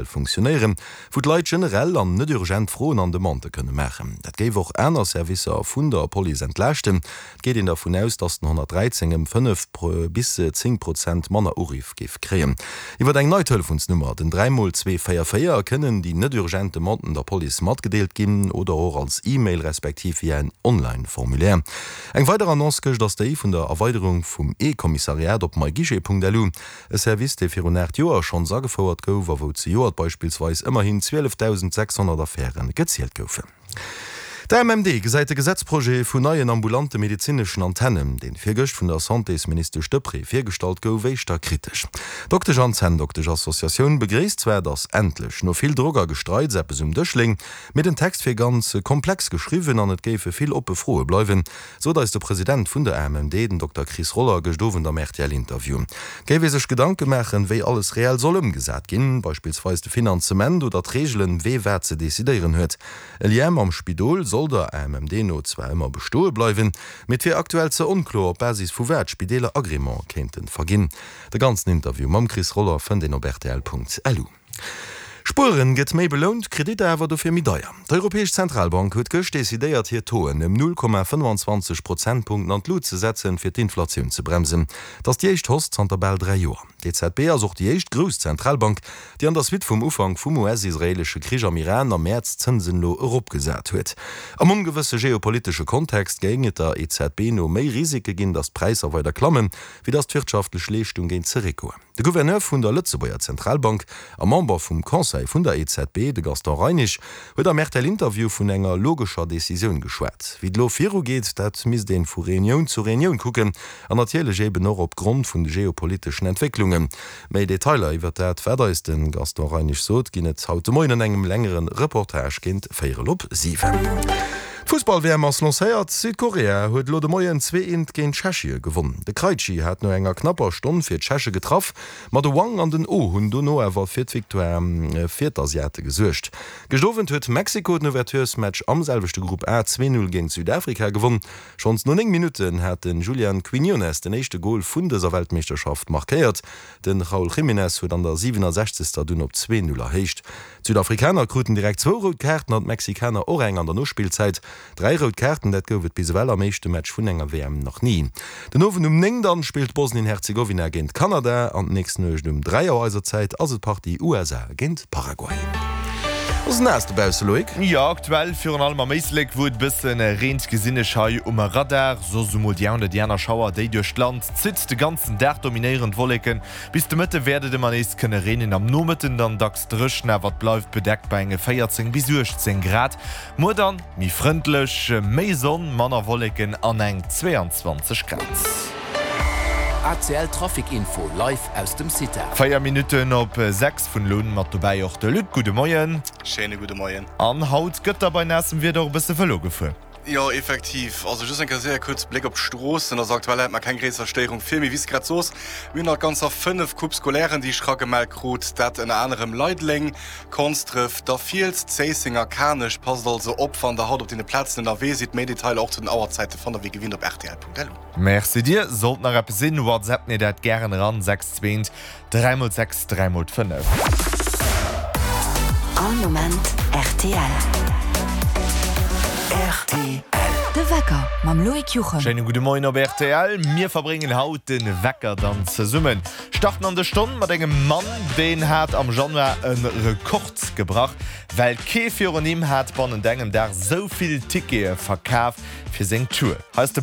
Funktionéieren, wou d'Leit generell an net urgent Froen an Demandë kënne maachen. Dat géif och aner Servicer vun der Police entlaaschten. Et geet een dervun aus, datt den 113 ëm 5 bis 10 Prozent manner Uriff géif kréien. Iwwer eng nei Telefonsnummer, den 3 mol 2 4 4, kënnen déi net urgent Demanden der Police matgedeelt ginn oder och als E-Mail respektiv via en Online-Formulaire. Eng weider Annonce gëscht ass déi vun der Erweiderung vum E-Kommissariat op myguichet.lu. E Service, dee virun 8 Joer schonns agefouert gouf a wou zejoert beispillsweis ëmmerhin 12.600 Affäre gezielt goufen. D'AMMD gesäit de Gesetzprojet vun neien ambulante medezineschen Antennen, deen virgëscht vun der Santésministesch Deprez virgestallt gouf, éischter kritesch. D'Doktesch an Zänndoktesch-Associatioun begréisst zwar, datt endlech no vill Drock a Gestreits eppes um Dësch léing, mee den Text wier ganz komplex geschriwwen an et géife vill oppe Froe bleiwen. Sot eis de President vun der AMMD, den Dokter Chris Roller, gëscht Owend am RTL-Interview. Géif ee sech Gedanke maachen, wéi alles reell soll ëmgesat ginn, beispillsweis de Finanzement oder d'Reegelen, wee wat ze decidéieren huet. E Lien mam Spidol soll der AMMD no zwar ëmmer bestoe bleiwen, mee et wier aktuell ze onkloer, op Basis vu wat Spideeler Agrément kéinte verginn. De ganzen Interview mam Chris Roller fënnt een op rtl.lu. Spueren gëtt méi belount, Kreditter awer dofir méi deier. D'Europäesch Zentralbank huet gëscht decidéiert hir Tauxen ëm 0,25 Prozentpunkten an d'Lut ze setzen, fir d'Inflatioun ze bremsen. Et ass déi éischt Hausse zanter bal 3 Joer. D'EZB ass och déi éischt grouss Zentralbank, déi an der Suite vum Ufank vum US-israeelesche Krich am Iran am Mäerz d'Zënsen elo eropgesat huet. Am ongewësse geopolitesche Kontext géing et der EZB no méi Risike ginn, datt d'Präisser weider klammen, wéi datt d'wirtschaftlech Leeschtung géing zeréckgoen. De Gouverneur vun der Lëtzebuerger Zentralbank a Member vum Conseil vun der EZB, de Gaston Reinesch, huet am RTL-Interview vun enger logescher Decisioun geschwat. Wéi et elo virugeet, dat misst een vu Reunioun zu Reunioun kucken an natierlech eben och op Grond vun de geopoliteschen Entwécklungen. Méi Detailer iwwer dat, wat eis de Gaston Reinesch sot, ginn et haut de Moien an engem längere Reportage géint véierel op 7. D'Fussball-WM ass lancéiert. Südkorea huet elo de Moien 2 Eent géint Tschechie gewonn. De Krejci hat no enger knapper Stonn fir d'Tscheche getraff, ma de Wang an den Oh hunn dono awer fir d'Victoire fir d'Asiate gesuergt. Gëscht Owend huet Mexiko den Ouverturesmatch am selwechte Grupp A 2, 0 géint Südafrika gewonn. Schonns no 9 Minutten hat de Julian Quinones den éischte Gol vun dëser Weltmeeschterschaft markéiert. De Raul Jiménez huet an der 67. dunn op 2, 0 erhéicht. D'Südafrikaner kruten direkt zwou rout Kaarten an d'Mexikaner och eng an der Nospillzäit. Dräi rout Kaarten, dat gouf et bis ewell am éischte Match vun enger WM nach ni. Den Owend um 9 dann spillt Bosnien-Herzegowina géint Kanada an d'nächst Nuecht um 3 Auer eiser Zäit ass et d'Partie USA géint Paraguay. Ass et naass dobausse, Loïc? Jo, aktuell virun allem am Éislek, wou et e bësse reent, gesinn ech hei um Radar. Soss emol déi eng oder déi aner Schauer, déi duerch d'Land zitt. De ganzen Dag dominéieren d'Wolleken. Bis de Mëtte wäert et ëmmer nees kënne reenen, am Nomëtten dann dacks dréchen, awer et bleift bedeckt bei enge 14 bis 18 Grad. Muer dann méi frëndlech, méi Sonn, manner Wolleken an eng 22 Grad. ACL Trafic Info live aus dem CITA. 4 Minutten op 6 vun elo un mat dobäi och de Luc. Gudde Moien. Schéine gudde Moien. An haut gëtt da bei naassem Wieder och e bësse Vëlo gefuer. Jo, effektiv. Also just eng Kéier séier kuerz Bléck op d'Stroossen. Also aktuell hätt mer keng gréisser Stéierung vir, mee wéi s de grad soos, mir hunn nach ganzer 5 Coupes scolairen, déi ech ragemellt krut. Dat ënner anerem Leideleng, Konsdref, da Fiels, Zéisseng a Kanech. Passt also op, wann der haut op deene Plazen ënnerwee sidd. Méi Detailer och zu den Auerzäite fannt der wéi gewinnt op rtl.lu. Merci dir. Sollt nach eppes sinn, WhatsApp mir dat gären eran, 6 2 3 mol 6 3 mol 5. All Moment rtl. Rtl. De Wecker mam Loïc Juchem. Schéine gudde Moien op rtl. Mir verbréngen haut de Wecker dann zesummen. Starten an de Stonn mat engem Mann, deen hat am Januar e Rekord gebrach, well kee virun him hat bannent engem Dag sou vill Tickete verkaf fir seng Tour. Hei ass de.